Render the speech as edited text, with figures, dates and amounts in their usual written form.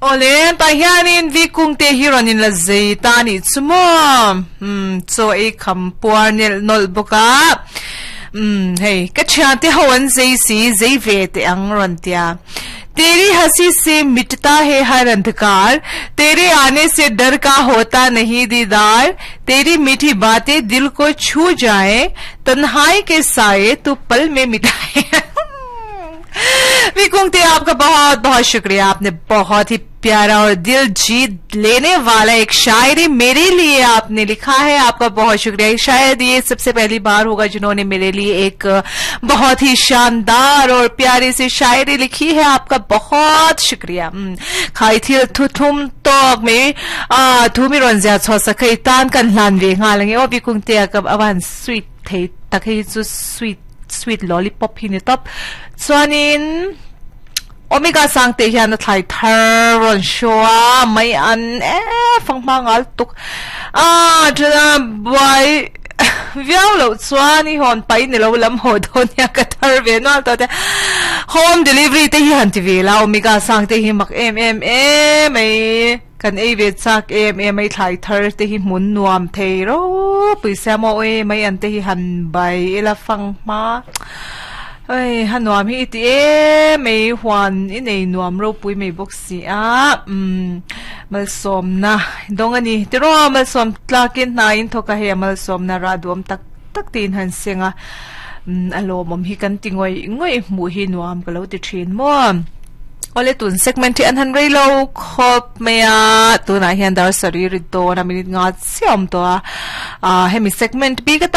Awle, tah hianin vi kungte hi rawn in la zei ta a nih chu maw? Umm, chaw ei kham puar nelh nawlh bawk a. Umm, hei, ka thiante ho an zei si, zei ve teh ang rawn tia. Teri hasi se mitata he har andhkar, tere aane se dar ka hota nahi didar, teri mithi baate dil ko chhu jaye, tanhai ke saye tu pal mein mitaye. Vi Kungte आपका बहुत बहुत शुक्रिया आपने बहुत ही प्यारा और दिल जीत लेने वाला एक शायरी मेरे लिए आपने लिखा है आपका बहुत शुक्रिया शायद ये सबसे पहली बार होगा जिन्होंने मेरे लिए एक बहुत ही शानदार और प्यारी सी शायरी लिखी है आपका बहुत शुक्रिया khai thil thu thum tok me a thu mi ron zia cho sa khai tan kan hlan ve nga lange o bi kungte ka awan sweet thei tak hei chu sweet sweet lollipop hi ni top chuanin omega sang te hian a thlai thar rawn show a mai an e fanghma ngal tuk a thana buai viau loh chuan i hawn pai ni lo lam haw dawn nia ka thar ve nual tawh te home delivery te hi han ti ve la omega sang te hi mak em em em mai Kan ei ve chak em em mai thlai thar te hi hmun nuam thei ropui sia maw awi mai an te hi han bai ila fang hma oi ha nuam hi i ti em mai huan i nei nuam ropui mai bawk si a umm malsawmna dawng a ni tiraw malsawm tlakin hna in thawk a hei a malsawmna rah duam tak tak tiin han seng a umm a lawmawm hi kan ti ngawih ngawih hmuh hi nuam ka lo ti thin maw. Awle tun segment hi an han rei lo khawp mai a, tunah hian dar sarih rit dawn a minute nga chiah a awm tawh a, ah hemi segment bik atan.